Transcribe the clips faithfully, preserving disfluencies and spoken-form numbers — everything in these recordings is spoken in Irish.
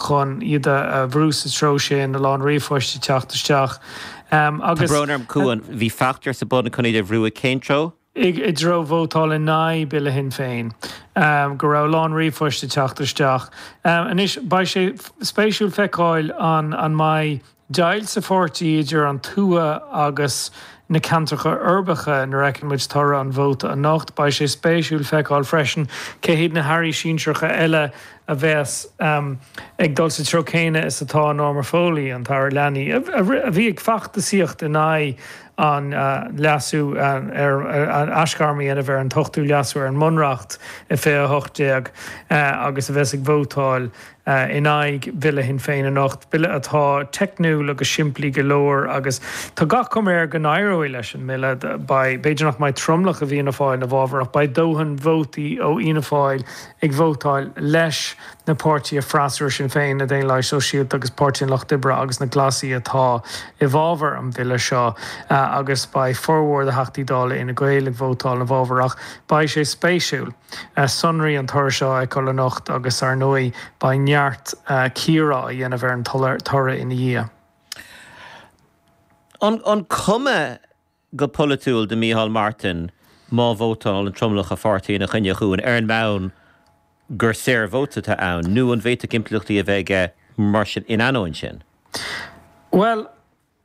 chun iad a bhrú sa treo sin, a lán ríomhphoist ag teacht isteach. Tá brón orm, Cuan, bhí feachtas ar bun chun iad a bhrú i cén treo? I dtreo vótáil in aghaidh Bille Shinn Féin, go raibh a lán ríomhphoist ag teacht isteach. Anois, beidh sé spéisiúil feiceáil an an mbeidh deighilt sa pháirtí idir an tuath agus na ceantracha uirbeacha nuair a fheiceann muid toradh an vóta anocht. Beidh sé spéisiúil feiceáil freisin cé hiad na hairí sinsearacha eile a bheas ag dul sa treo céanna is atá Norma Foley, an tAire Leanaí, a bhí ag feachtasaíocht in aghaidh an leasú ar an aisghairm a dhéanamh ar an t-ochtú leasú ar an mBunreacht i fiche a hocht déag agus a bheas ag vótáil in aghaidh Bhille Shinn Féin anocht, bille atá teicniúil agus simplí go leor agus tá gach cuma air go n-éireoidh leis an mbille. Beidh, b'fhéidir nach mbeidh tromlach i bhFianna Fáil ina bhfabhar ach beidh dóthain vótaí ó Fhianna Fáil ag vótáil leis na páirtithe freasúra, Sinn Féin, na Daonlathaigh Sóisialta agus Páirtí an Lucht Oibre agus na Glasaigh atá i bhfabhar an bhille seo agus beidh formhór de Theachtaí Dála Fhine Gael ag vótáil ina bhfabhar ach beidh sé spéisiúil sonraí an toradh seo a fheiceáil anocht agus ar ndóigh beidh neart cíoradh á dhéanamh ar an toradh ina dhiaidh. An cuma go polaitiúil do Micheál Martin má vótálann tromlach a pháirtí ina choinne, a Chuain, ar an mbonn gur saorvóta atá ann, nó an bhféadfadh impleachtaí a bheith aige mar sin in ainneoin sin? Bhuel,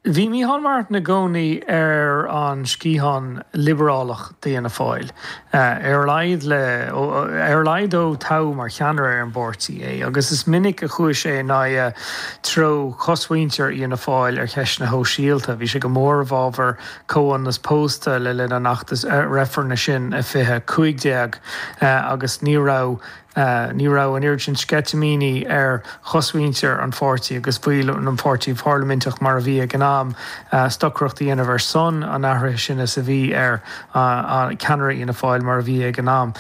bhí Micheál Martin i gcónaí ar an sciathán liobrálach d'Fhianna Fáil, ar a laghad le, ar a laghad ó toghadh mar cheannaire ar an bpáirtí é, agus is minic a chuaigh sé in aghaidh treo chosmhuintir Fhianna Fáil ar cheisteanna shóisialta. Bhí sé go mór i bhfabhar comhionannas pósta le linn an fheachtais reifrinn sin i fiche cúig déag agus ní raibh Ní raibh an oiread sin sceitimíní ar chosmhuintir an pháirtí agus bhaill an pháirtí pharlaiminteach mar a bhí ag an am stocaireacht a dhéanamh ar son an athraithe sin is a bhí ar cheannaire Fhianna Fáil mar a bhí ag an am,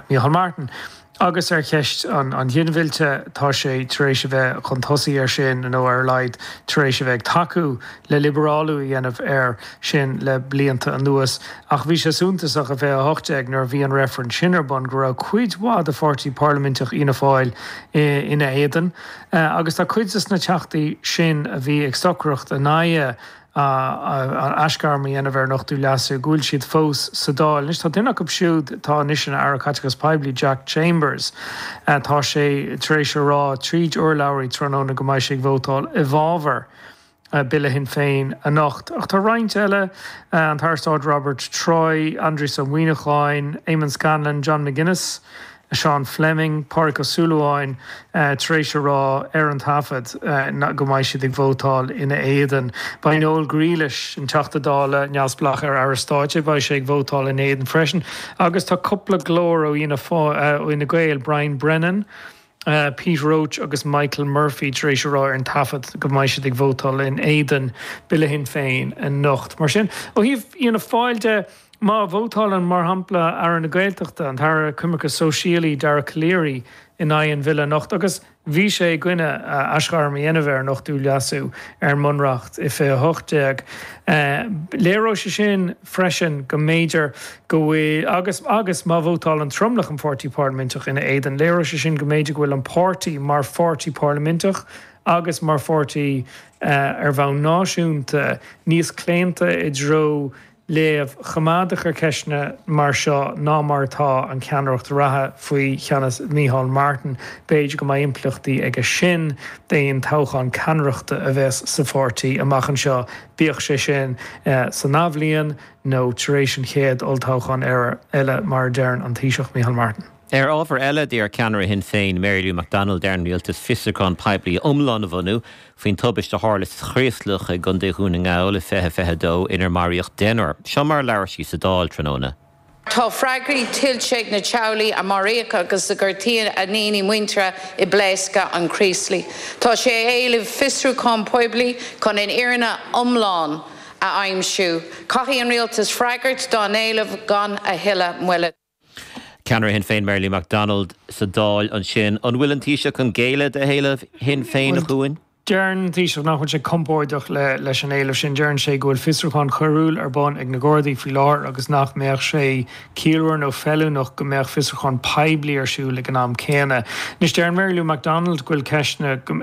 Micheál Martin. Agus ar cheist an ghinmhillte, tá sé tar éis a bheith chun tosaigh air sin, nó ar a laghad tar éis a bheith ag tacú le liobrálú a dhéanamh air sin le blianta anuas. Ach bhí sé suntasach i fiche a hocht déag nuair a bhí an reifreann sin ar bun go raibh cuid mhaith de pháirtí parlaiminteach Fhianna Fáil ina éadan agus tá cuid des na teachtaí sin a bhí ag stocaireacht in aghaidh an aisghairm a dhéanamh ar an Ochtú Leasú go bhfuil siad fós sa Dáil. Anois tá duine acu siúd atá anois ina Aire Caiteachais Poiblí, Jack Chambers, tá sé tar éis a rá tríd urlabhraí tráthnóna go mbeidh sé ag vótáil i bhfabhar Bille Shinn Féin anocht. Ach tá roinnt eile, an tAire Stáit Robert Troy, Aindrias Ó Muimhneacháin, Eamon Scanlon, John McGuinness, Seán Fleming, Pádraig Ó Súilleabháin, tar éis a rá ar an taifead go mbeidh siad ag vótáil ina éadan. Beidh Noel Grealish, an Teachta Dála neamhspleách ar Aire Stáit é, beidh sé ag vótáil ina éadan freisin. Agus tá cúpla glór ó Fhianna Fáil, ó Fhine Gael, Brian Brennan, Pete Roche agus Michael Murphy tar éis a rá ar an taifead go mbeidh siad ag vótáil in éadan Bille Shinn Féin anocht. Mar sin, ó thaobh Fhianna Fáil de, má vótálann, mar shampla, Aire na Gaeltachta, an tAire Coimirce Sóisialaí Dara Calleary in aghaidh an bhille anocht, agus bhí sé i gcoinne aisghairm a dhéanamh ar an Ochtú Leasú ar an mBunreacht i fiche a hocht déag, léireoidh sé sin freisin go mb'fhéidir go bhfuil, agus agus má vótálann tromlach an pháirtí parlaiminteach ina éadan, léireoidh sé sin go mb'fhéidir go bhfuil an páirtí mar pháirtí parlaiminteach agus mar pháirtí ar bhonn náisiúnta níos claonta i dtreo léamh choimeádach ar cheisteanna mar seo ná mar atá an cheannaireacht reatha faoi cheannas Micheál Martin. B'fhéidir go mbeidh impleachtaí aige sin d'aon toghchán ceannaireachta a bheas sa pháirtí amach anseo, bíodh sé sin san athbhliain nó tar éis an chéad olltoghchán eile, mar a deireann an Taoiseach Micheál Martin. Ar ábhar eile, d'iarr ceannaire Shinn Féin, Mary Lou McDonald ar an rialtas fiosrúchán poiblí iomlán a bhunú faoin tubaiste a tharla sa Chraoslach i gContae Dhún na nGall i fiche fiche a dó inar maraíodh deichniúr. Seo mar a labhair sí sa Dáil tráthnóna. Tá freagraí tuillte ag na teaghlaigh a maraíodh agus a gortaíodh a ndaoine muinteartha i bpléascadh an Chraoslaigh. Tá sé ag éileamh fiosrúchán poiblí chun an fhírinne iomlán a aimsiú. Caithfidh an rialtas freagairt dá n-éileamh gan a thuilleadh moille. Ceannaire Shinn Féin Mary Lou McDonald sa Dáil ansin. An bhfuil an Taoiseach chun géilleadh do éileamh Shinn Féin, a Chuain? Deireann an Taoiseach nach bhfuil sé compordach leis an éileamh sin. Deireann sé go bhfuil fiosrúchán coiriúil ar bun ag na Gardaí faoi láthair agus nach mbeadh sé ciallmhar nó feiliúnach go mbeadh fiosrúchán poiblí ar siúl ag an am céanna. Anois deireann Mary Lou McDonald go bhfuil ceisteanna